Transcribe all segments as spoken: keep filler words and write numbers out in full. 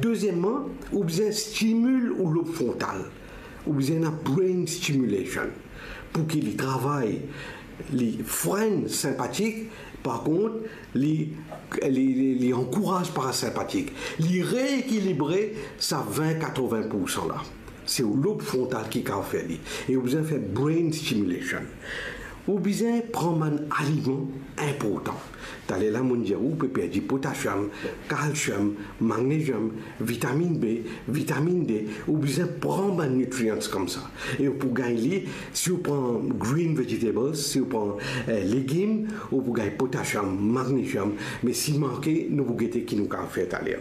Dezieman, ou bizin stimil ou lob frontal. Ou bizin ena brain stimulation pou ki li travay, li frenn senpatik, par kont, li, li, li, li ankouraz parasenpatik. Li reekilibre sa vin, katrovin poursan la. Se ou lob frontal ki kapav fer li. E ou bizin fer brain stimulation. Ou bizin pran bann aliman inportan. Taler la, mo'nn dir ou, ou pe perdi potasiom, kalsiom, magneziom, vitaminn B, vitaminn D. Ou bizin pran bann nutrients koumsa. E ou pou gagn li, si ou pran green vegetables, si ou pran, eh, legim, ou pou gagn potasiom, magneziom. Me si manke, nou pou gete ki nou kapav fer taler.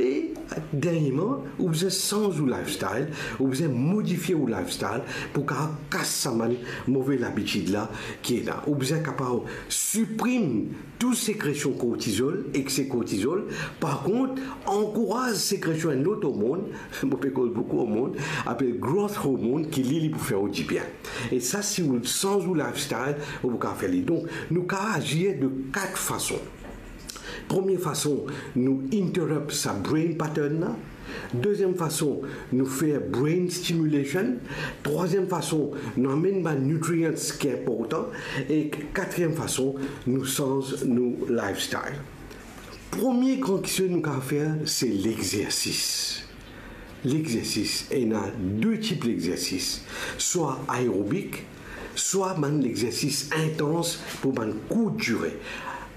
E derniereman, ou bizin sanz ou lifestyle, ou bizin modifie ou lifestyle pou kapav kas sa bann move labitid la ki ena. Ou bizin kapav siprim tou sekresion kortizol, ekse kortizol. Par kont, ankouraz sekresion enn lot ormonn, mo pe koz boukou ormonn, apel growth hormone, ki li, li pou fer ou dibien. E sa, si ou sanz ou lifestyle, ou pou kapav fer li. Donk, nou kapav azir de kat fason. Premie fason, nou interrupt sa brain pattern la. Deziem fason, nou fer brain stimulation. Trwaziem fason, nou amenn bann nutrients ki inportan. E katriem fason, nou sanz nou lifestyle. Premie gran kiksoz nou kapav fer, se lexersis. Lexersis, ena de tip lexersis, swa aerobik, swa bann lexersis intans pou bann kourt dire.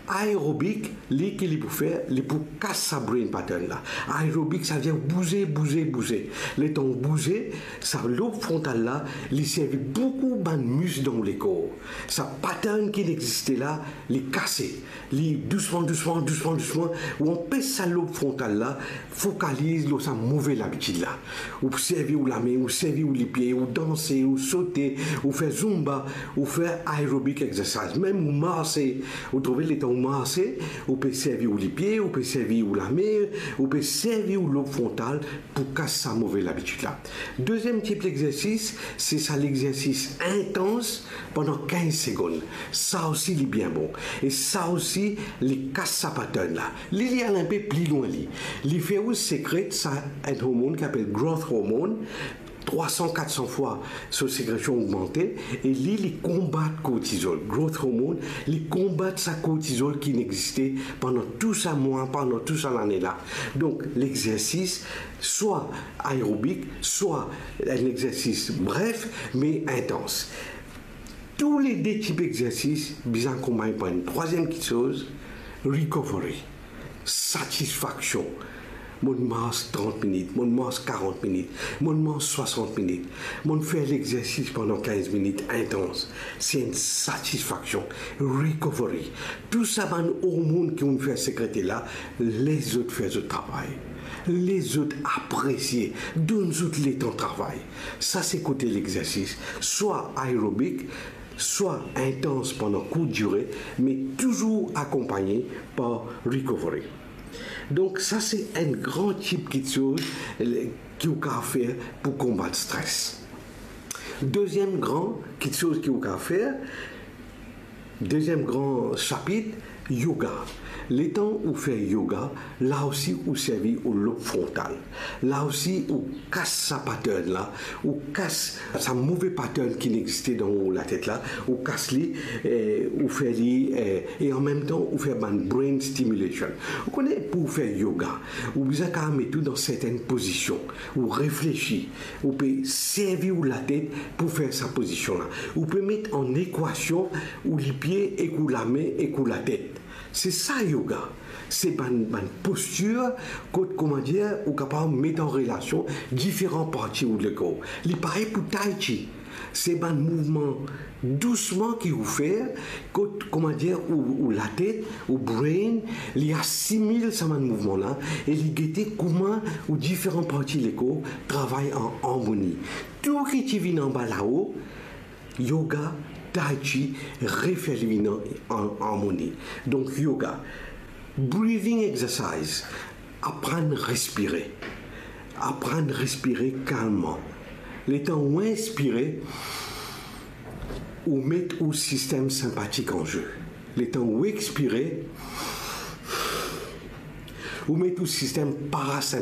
Aerobik, li ki li pou fer, li pou kas sa brain pattern la. Aerobik, savedir bouze, bouze, bouze. Letan ou bouze, sa lob frontal la, li servi boukou bann mis dan ou lekor. Sa pattern ki li existe la, li kase. Li dousman, dousman, dousman, dousman, ou anpes sa lob frontal la fokaliz lor sa move labitid la. Ou servi ou lame, ou servi ou lipie, ou danse, ou sote, ou fer zumba, ou fer aerobic exercise, mem ou marse. Ou trouve letan ou marse, ou pe servi ou lipie, ou pe servi ou lame, ou pe servi ou lob frontal pou kas sa move labitid la. Deziem tip lexersis, se sa lexersis intans pandan kinz segonn. Sa osi li bien bon. E sa osi li kas sa pattern la. Li, li al inpe pli lwin li. Li fer ou sekret sa enn hormonn ki apel growth hormone, trwa san, kat san fwa so sekresion ogmante, e li, li konbat kortizol. Growth hormone, li konbat sa kortizol ki inn existe pandan tou sa mwa, pandan tou sa lane la. Donk, lexersis, swa aerobik, swa enn lexersis bref, me intans. Tou le de tip lexersis bizin akonpagn par enn trwaziem kiksoz, recovery, satisfaksion. Mo'nn mars trant minit, mo'nn mars karant minit, mo'nn mars swasant minit, mo'nn fer lexersis pandan kinz minit intans. Se enn satisfaksion, recovery. Tou sa bann hormonn ki ou'nn fer sekrete la, les zot fer zot travay. Les zot apresie, donn zot letan travay. Sa se kote lexersis, swa aerobik, swa intans pandan kourt dire, me touzour akonpagne par recovery. Donk, sa se enn gran tip kiksoz, eh, ki ou kapav fer pou konbat stres. Deziem gran kiksoz ki ou kapav fer, deziem gran sapit, yoga. Letan ou fer yoga, la osi ou servi ou lob frontal. La osi ou kas sa pattern la, ou kas sa move pattern ki inn existe dan ou latet la, ou kas li, eh, ou fer li, eh, e anmemtan ou fer bann brain stimulation. Ou kone, pou fer yoga, ou bizin kapav met ou dan sertenn pozision, ou reflesi, ou pe servi ou latet pou fer sa pozision la. Ou pe met an ekwasion ou lipie ek ou lame ek ou latet. Se sa yoga. Se bann, bann postir kot, kouma dir, ou kapav met an relasion diferan parti ou lekor. Li parey pou tai chi. Se bann mouvman dousman ki ou fer, kot, kouma dir, ou, ou latet, ou brain, li asimil sa bann mouvman la, e li gete kouma ou diferan parti lekor travay an armoni. Tou ki ti vinn anba lao, yoga, tai chi, refer li vinn an, an armoni. Donk, yoga. Breathing exercise. Aprann respire. Aprann respire kalmman. Letan ou inspire, ou met ou sistem senpatik an ze. Letan ou ekspire, ou met ou sistem parasenpatik